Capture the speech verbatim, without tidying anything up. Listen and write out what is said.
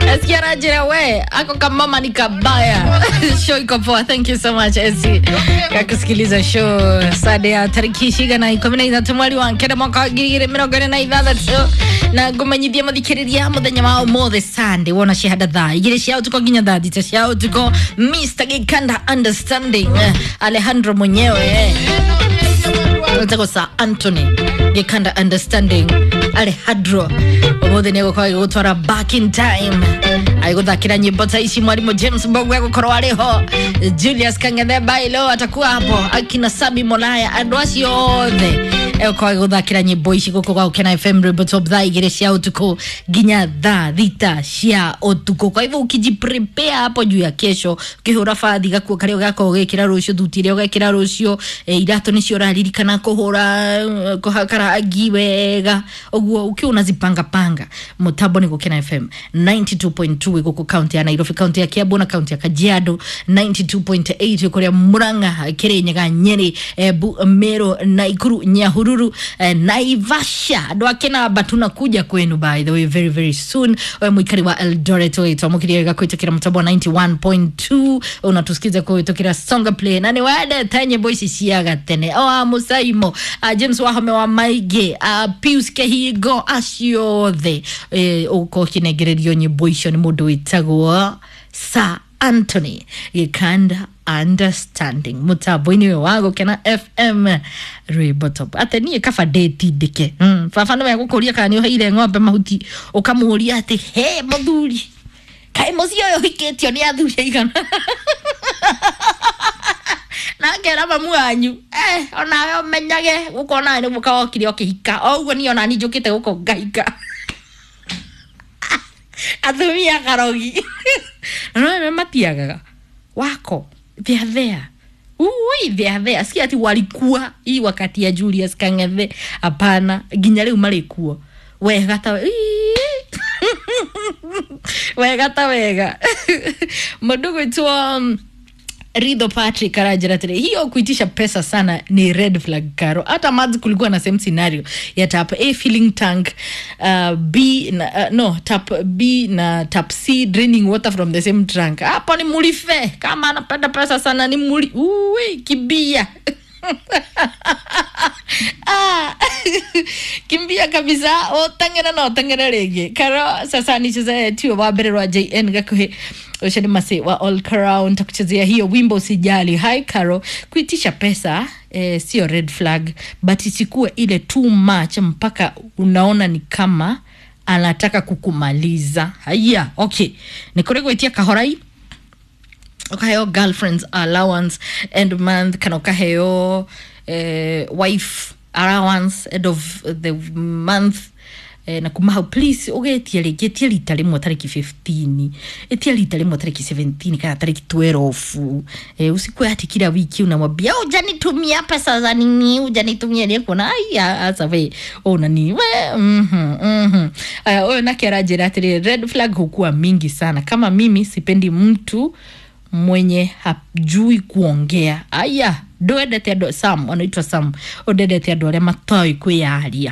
Nasikia Rajira we ako kamama ni kabaya. Show iko poa. Thank you so much Esi kwa kusikiliza show Sunday ya tariki cigana ikumi na ithatu mweri wa kenda mwaka wa ngiri igĩrĩ mĩrongo ĩrĩ na ithathatũ na ngũmenyithia mũthikĩrĩria mũthenya wa ũmũthĩ Sunday wona cihanda thaa igĩrĩ cia ũtukũ nginya thaa thita cia ũtukũ Mister Gikanda Understanding, eh, Alejandro mwenyewe, eh. Nataka Sir Anthony Gikanda Understanding Alejandro umuthi nĩ egũkorwo agĩgũtwara back in time agĩgũthakĩra nyĩmbo ta ici. Mwarimũ James Mbogo egũkorwo arĩ ho, Julius Kang'ethe Bailo atakuwa hapo, akina Sami Molaya, andũ acio othe egũkorwo agĩgũthakĩra nyĩmbo ici gũkũ gwa Gũkena F M Rwĩmbo Top thaa igĩrĩ cia ũtukũ nginya thaa thita cia ũtukũ. Kwa hivyo ukijiprepare hapo juu ya kesho, ukihũra bathi gakuo karĩa ũgakorwo ũgĩkĩra rũciũ, thuti ĩrĩa ũgekĩra rũciũ, eh, iratũ nĩcio ũraririkana kũhũra, eh, kũhaka rangi wega ũguo ukiwa unazipanga panga. Mũtambo nĩ Gũkena F M ninety-two point two gũkũ kaunti ya Nairobi, kaunti ya Kiambu na kaunti ya Kajiado, ninety-two point eight kũrĩa Murang'a, Kirinyaga, Nyeri, Embu, Meru, Nakuru, Nyahururu, eh, Naivasha. Andũ a Kĩnamba tunakuja kwenu by the way very very soon. We mwikari wa Eldoret twamũkĩria wega kũhĩtũkĩra mũtambo wa ninety-one point two, unatusikiza kũhĩtũkĩra Songa Play na nĩ wendete nyĩmbo ici cia gatene o a Musaimo, a James Wahome wa Maingĩ, a Pius Kehingo, acio othe ũgũkorwo ũkĩnengererio nyĩmbo icio nĩ mũndũ wĩtagwo Sir Anthony Gikanda Understanding mũtambo-inĩ ũyũ wa Gũkena F M Rwĩmbo Top. Ate niĩ kaba ndĩtindĩke. mm, baba nĩwe gũkũria kana nĩ ũheire ng'ombe mahuti, ũkamũria atĩ he mũthuri kaĩ mũciĩ ũyũ ũhikĩtio nĩ athuri aigana, na ngera mamu wanyu eh, onawe ũmenyage gũkũ onawe nĩ mũka wokire ũkĩhika o ũguo niĩ onani njũkĩte gũkũ ngahika atumia karogi na no matiagaga wako, they are there. Ui, they are there. Si ati walikuwa hii wakati ya Julius Kang'ethe, hapana, nginya rĩu marĩ kuo wega ta ii. Wega ta wega. Mũndũ gwĩtwo um, Ridho Patrick aranjĩra atĩrĩ, hiyo kuitisha pesa sana ni red flag karo. Hata Mads kulikuwa na same scenario ya tap A filling tank, uh, B na, uh, no, tap B na tap C draining water from the same trunk. Hapo ni mulife. Kama anapenda pesa sana ni muli uwe kibia. Ah, kimbia kabisa utang'era no utang'era rĩngĩ karo. Sasa nicheze tuo wa mbere rwa J N gakuhĩ ũcio nĩ masi wa All Crown, takuchezea hiyo wimbo Usijali. Hi Karo, kuitisha pesa eh, sio red flag but isikuwe ile too much mpaka unaona ni kama anataka kukumaliza. Haya, okay, nĩ kũrĩ gwĩtia kahorai ukaheo girlfriend's allowance end month kana ukaheo eh, wife allowance end of the month, eh, na kuma hau please ugetia rĩngĩ ĩtia rita rĩmwe tarĩki fifteen, ĩtia rita rĩmwe tarĩki seventeen kana tarĩki twelve. eh, usikue ati kila wiki unamwambia hujanitumia pesa za nini, hujanitumia nĩ kuona ai asa we unani we mhm mhm Aya, ũyũ nake aranjĩra atĩrĩ, red flag hukuwa mingi sana. Kama mimi sipendi mtu mwenye hajui kuongea. Aya, ndwendete andũ Sam, anaitwa Sam, ũndendete andũ arĩa matoĩ kwĩyaria.